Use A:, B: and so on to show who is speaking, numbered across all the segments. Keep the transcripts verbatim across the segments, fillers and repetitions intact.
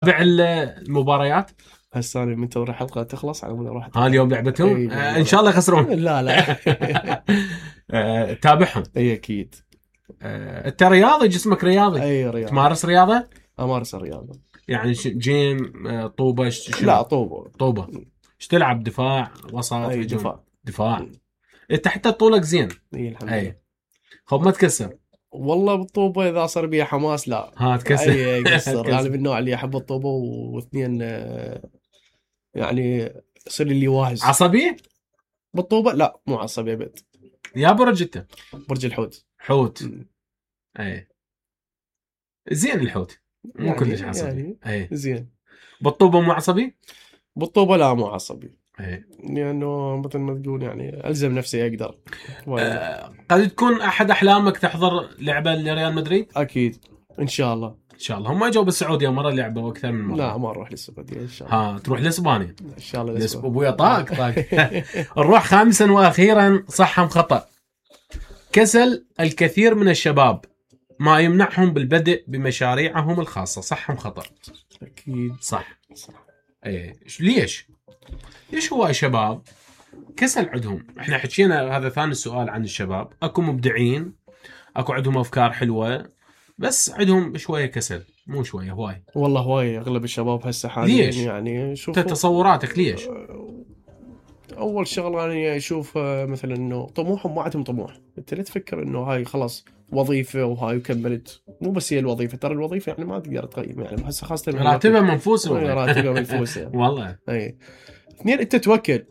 A: تابع المباريات
B: هسه انا منتظر الحلقه تخلص على مود اروح.
A: ها اليوم لعبتهم
B: أي
A: آه ان شاء الله يخسرون.
B: لا لا
A: آه تابعهم.
B: اي اكيد.
A: آه انت رياضي، جسمك رياضي.
B: اي رياضي.
A: تمارس رياضه؟
B: امارس الرياضه
A: يعني جيم آه طوبه ش...
B: لا طوبه
A: طوبه. ايش تلعب؟ دفاع وسط؟
B: اي دفاع
A: دفاع. انت حتى طولك زين.
B: اي الحمد لله.
A: خب ما تكسر
B: والله بالطوبه اذا صار بيها حماس لا
A: ها تكسر.
B: اي كسر. انا من النوع اللي احب الطوبه، واثنين يعني يصير لي واهز.
A: عصبي
B: بالطوبه؟ لا مو عصبي ابد.
A: يا برج انت؟
B: برج الحوت.
A: حوت. اي زين الحوت مو
B: يعني
A: كلش عصبي.
B: يعني
A: اي
B: زين.
A: بالطوبه مو عصبي؟
B: بالطوبه لا مو عصبي.
A: اي
B: لانه مثل ما تقول يعني الزم نفسي اقدر.
A: أه قد تكون احد احلامك تحضر لعبه لريال مدريد؟
B: اكيد ان شاء الله.
A: ان شاء الله. هم اجوا بالسعوديه مره لعبوا اكثر من مره.
B: لا ما نروح للسعوديه ان شاء الله.
A: ها تروح لاسبانيا
B: ان شاء الله
A: لسب... ابويا طاق طاق. نروح خامسا واخيرا، صح ام خطا؟ كسل الكثير من الشباب ما يمنعهم بالبدء بمشاريعهم الخاصه، صح ام خطا؟
B: اكيد
A: صح.
B: صح.
A: ايه ليش؟ ليش هو الشباب كسل عندهم؟ احنا حكينا هذا ثاني سؤال عن الشباب، اكو مبدعين، اكو عندهم افكار حلوه، بس عندهم شويه كسل، مو شويه هواي.
B: والله هواي اغلب الشباب هسه حاليا.
A: ليش؟
B: يعني شوف
A: تصوراتك ليش؟
B: اول شغله يعني اشوف مثلا انه طموحهم ما عندهم طموح. انت لا تفكر انه هاي خلاص وظيفه وهاي وكملت. مو بس هي الوظيفه، ترى الوظيفه يعني ما تقدر تقيم يعني هسه خاصه
A: راتبها منفوسه.
B: راتبها منفوسه
A: والله.
B: اي اثنين، انت توكل،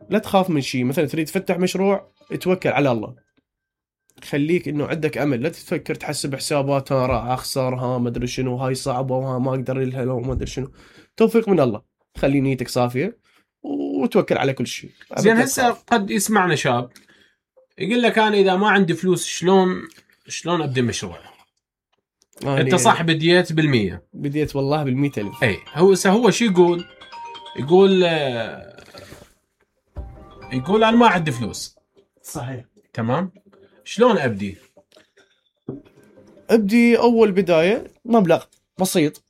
B: لا تخاف من شيء. مثلا تريد تفتح مشروع، توكل على الله، خليك انه عندك امل، لا تفكر تحسب حسابات ها راح اخسر، ها ما ادري شنو، هاي صعبه وها ما اقدر لها لو ما ادري شنو. توفيق من الله، خلي نيتك صافيه وتوكل على كل شيء.
A: زين هسه قد يسمعنا شاب يقول لك انا اذا ما عندي فلوس شلون شلون ابدا مشروع؟ يعني انت صح بديت بالمية؟
B: بديت والله بالمية ألف.
A: اي هو هو شو يقول؟ يقول يقول انا ما عندي فلوس.
B: صحيح.
A: تمام. شلون ابدي؟
B: ابدي اول بدايه مبلغ بسيط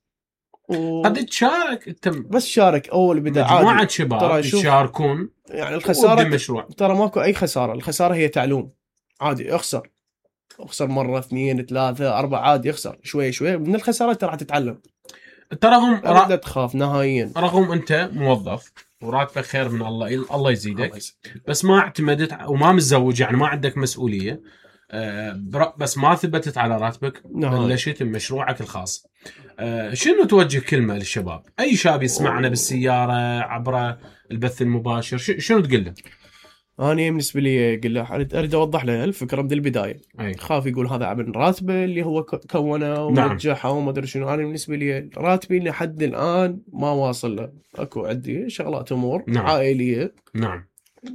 A: و... قد تشارك انت،
B: بس شارك اول بدايه
A: مجموعه شباب يشاركون
B: يعني الخساره ترى ماكو اي خساره. الخساره هي تعلوم. عادي اخسر اخسر مره اثنين ثلاثه اربعه، عادي اخسر شوي شوي من الخسارات ترى تتعلم.
A: تراهم
B: لا را... تخاف نهائيا.
A: رغم انت موظف وراتبك خير من الله، الله يزيدك، بس ما اعتمدت وما متزوج يعني ما عندك مسؤوليه، بس ما ثبتت على راتبك، بلشت بمشروعك الخاص. شنو توجه كلمه للشباب؟ اي شاب يسمعنا بالسياره عبر البث المباشر شنو تقول له؟
B: أنا بالنسبة لي أقول له أريد أوضح له الفكرة من البداية.
A: أي.
B: خاف يقول هذا من راتبه اللي هو كونه ونجحه وما أدري شنو. أنا بالنسبة لي راتبي لحد الآن ما واصل له. أكو عندي شغلات أمور
A: نعم.
B: عائلية.
A: نعم.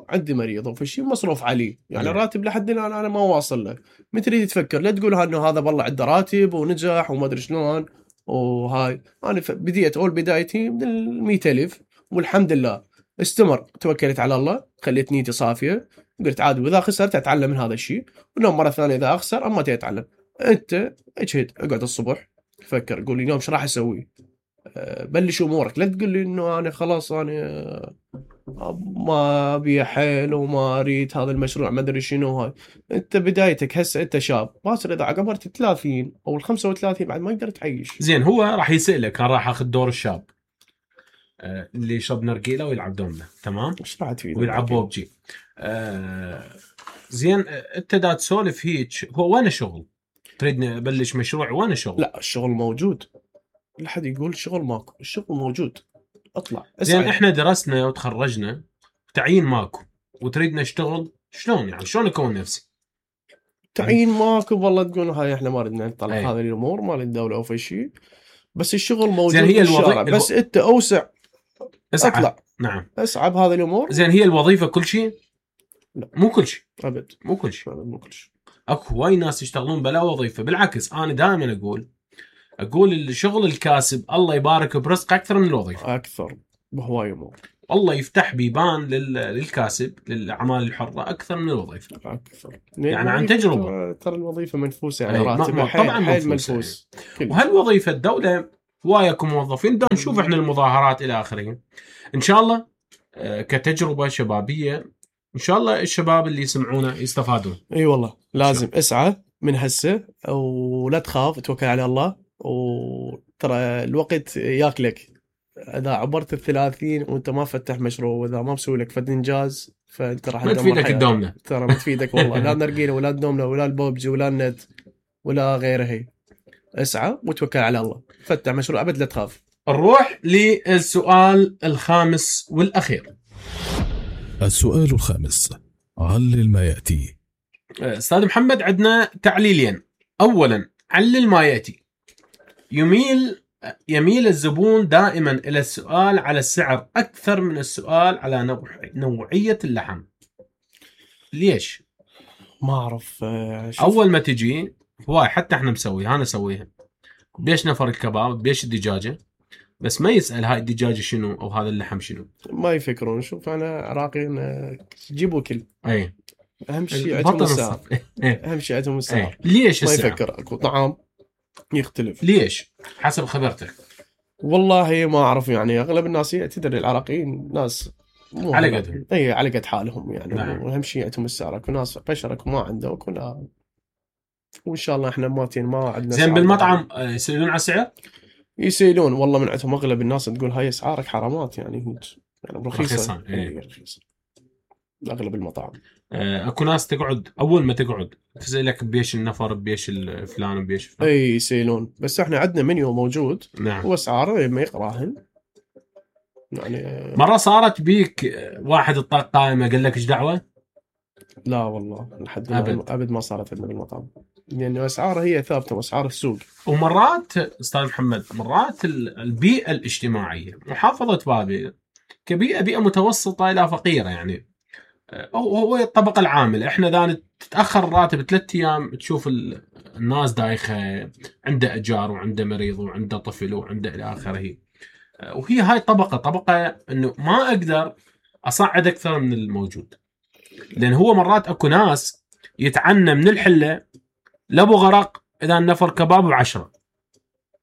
B: عندي مريض وفي شيء مصروف عليه يعني. نعم. راتب لحد الآن أنا ما واصل له. من تريد تفكر لا تقول إنه هذا والله عنده راتب ونجح وما أدري شلون وهاي. أنا بديت أول بدايتي من المية ألف والحمد لله. استمر، توكلت على الله، خليت نيتي صافية، قلت عادي وإذا خسرت أتعلم من هذا الشيء، ونوم مرة ثانية إذا أخسر أما تتعلم. أنت اجهد، اقعد الصبح فكر، قول لي اليوم ايش راح أسوي، بلش أمورك. لا تقول لي إنه أنا خلاص أنا ما أبي حيل وما أريد هذا المشروع ما أدري شنو. هاي أنت بدايتك هسه، أنت شاب باصر إذا عقبرت الثلاثين أو الخمسة وثلاثين بعد ما يقدر تعيش.
A: زين هو راح يسألك، أنا راح أخذ دور الشاب اللي يشرب نرجيله ويلعب دومنا، تمام؟
B: ايش راح تفيد؟
A: ويلعب بوبجي. آه زين انت دا تسولف هيك، هو وين الشغل؟ تريدني ابلش مشروع وين الشغل؟
B: لا الشغل موجود. لا حد يقول الشغل ماكو، الشغل موجود. اطلع
A: زين احنا درسنا وتخرجنا تعيين ماكو وتريد نشتغل، شلون يعني شلون اكون نفسي؟
B: تعيين ماكو والله تقول هاي احنا ما ردنا نطلع هذه الامور مال الدوله او في شيء، بس الشغل موجود.
A: زين هي
B: الوظيفه الو... بس انت اوسع
A: اسعى.
B: اطلع.
A: نعم
B: اسعى بهذه الامور.
A: زين هي الوظيفه كل شيء؟
B: لا
A: مو كل شيء
B: ابد.
A: مو كل شيء
B: مو كل شيء.
A: اكو وايد ناس يشتغلون بلا وظيفه. بالعكس انا دائما اقول اقول الشغل الكاسب الله يبارك برزقه اكثر من الوظيفه.
B: اكثر بهواي امور.
A: الله يفتح بيبان للكاسب للاعمال الحره اكثر من الوظيفه.
B: اكثر
A: يعني عن تجربه.
B: ترى الوظيفه منفوسه يعني راتبها
A: طبعا
B: حيل منفوس.
A: وهالوظيفه الدوله هواي اكو موظفين دا نشوف احنا المظاهرات الى اخره. ان شاء الله كتجربه شبابيه ان شاء الله الشباب اللي يسمعونا يستفادون.
B: اي والله لازم اسعى من هسه ولا تخاف، توكل على الله، وترى الوقت ياكلك. اذا عبرت الثلاثين وانت ما فتح مشروع واذا ما مسوي لك فد انجاز فانت راح
A: ما تفيدك تدومنا،
B: ترى ما تفيدك والله. لا نرقينا ولا تدومنا ولا البوبجي ولا النت ولا غيره. هي اسعى وتوكل على الله، فتح مشروع ابد لا تخاف.
A: نروح للسؤال الخامس والاخير.
C: السؤال الخامس، علل ما ياتي.
A: استاذ محمد عندنا تعليلين. اولا علل ما ياتي. يميل يميل الزبون دائما الى السؤال على السعر اكثر من السؤال على نوع... نوعيه اللحم. ليش؟
B: ما اعرف.
A: اول ما تجي هواي حتى احنا مسويها، انا اسويها بيش نفر الكباب بيش الدجاجه، بس ما يسال هاي الدجاجه شنو او هذا اللحم شنو،
B: ما يفكرون. شوف انا عراقيين جيبوا كل
A: اي
B: اهم شيء عندهم السعر. اهم شيء عندهم السعر.
A: ليش
B: ما
A: السعر؟
B: يفكر اكو طعام يختلف.
A: ليش حسب خبرتك؟
B: والله ما اعرف، يعني اغلب الناس تدري العراقيين ناس مو
A: على قدهم.
B: اي على قد حالهم يعني.
A: نعم.
B: واهم شيء عندهم السعر. اكو ناس بشرك ما عنده وكنا، وان شاء الله احنا ماتين ما عندنا.
A: زين بالمطعم يسالون على السعر؟
B: يسيلون والله من عندهم. اغلب الناس تقول هاي اسعارك حرامات يعني، يعني رخيصه.
A: اي
B: رخيصه اغلب المطاعم.
A: اكو ناس تقعد اول ما تقعد تسالك بيش النفر بيش الفلان وبيش فلان.
B: اي يسيلون، بس احنا عندنا منيو موجود.
A: نعم.
B: واسعاره ما يقراهن يعني.
A: مره صارت بيك واحد الطاق قائمه قال لك ايش دعوه؟
B: لا والله لحد
A: أبد.
B: ابد ما صارت عندنا بالمطعم، لانه اسعاره هي ثابته واسعار السوق.
A: ومرات استاذ محمد مرات البيئه الاجتماعيه محافظه بابل كبيئه بيئه متوسطه الى فقيره يعني، هو الطبقه العامله. احنا اذا تتاخر الراتب ثلاث ايام تشوف الناس دايخه، عنده اجار وعنده مريض وعنده طفل وعنده الى اخره. وهي هاي طبقه طبقه انه ما اقدر اصعد اكثر من الموجود، لان هو مرات اكو ناس يتعنى من الحله لابو غرق اذا النفر كباب بعشرة،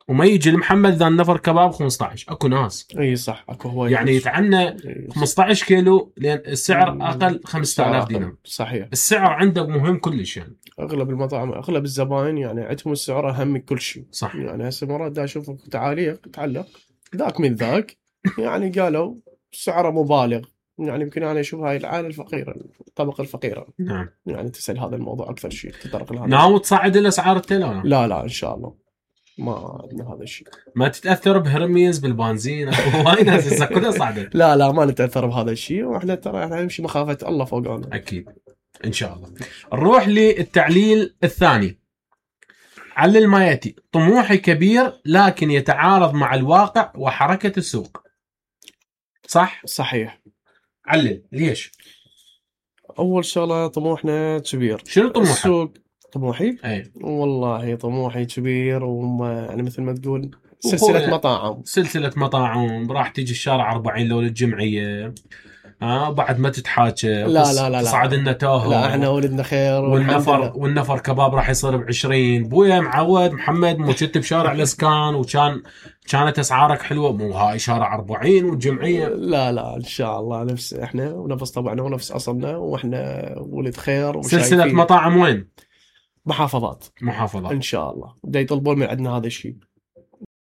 A: وما يجي لمحمد اذا النفر كباب خمسة عشر. اكو ناس
B: اي صح اكو هواي
A: يعني يتعنى خمسة عشر كيلو لان السعر اقل خمسة آلاف دينار.
B: صحيح.
A: السعر عنده مهم كلش يعني.
B: اغلب المطاعم اغلب الزباين يعني عندهم السعر اهم من كل شيء.
A: صح.
B: يعني هسه مرات دا اشوف تعاليق تعلق ذاك من ذاك يعني قالوا سعره مبالغ. يعني يمكن انا اشوف هاي العائله الفقيره الطبقه الفقيره.
A: نعم.
B: يعني تسال هذا الموضوع اكثر شيء تطرق لهذا.
A: ناوي تصعد الاسعار التيلا؟
B: لا لا ان شاء الله ما عندنا هذا الشيء.
A: ما تتاثر بهرميز بالبنزين هواي ناس هسه كلها صعدت.
B: لا لا ما نتاثر بهذا الشيء، واحنا ترى احنا نمشي مخافه الله فوقنا.
A: اكيد ان شاء الله. نروح للتعليل الثاني. علل ما ياتي. طموحي كبير لكن يتعارض مع الواقع وحركه السوق. صح؟
B: صحيح.
A: علل ليش؟
B: اول شغله طموحنا كبير.
A: شنو طموحك؟
B: السوق. طموحي؟
A: اي
B: والله طموحي كبير، وما يعني مثل ما تقول سلسله مطاعم.
A: سلسله مطاعم راح تيجي الشارع أربعين لو للجمعيه. ها آه بعد ما تتحاكى
B: لا لا لا
A: تصعد لنا توه.
B: لا احنا ولدنا خير.
A: والنفر والنفر كباب راح يصير بعشرين. بويا معود محمد مو كنت بشارع الاسكان وكان كانت اسعارك حلوه، مو هاي شارع أربعين والجمعيه.
B: لا لا ان شاء الله نفس احنا ونفس طبعنا ونفس اصلنا، واحنا ولد خير.
A: سلسله مطاعم وين؟
B: محافظات.
A: محافظات
B: ان شاء الله بدا يطلبون من عندنا هذا الشيء.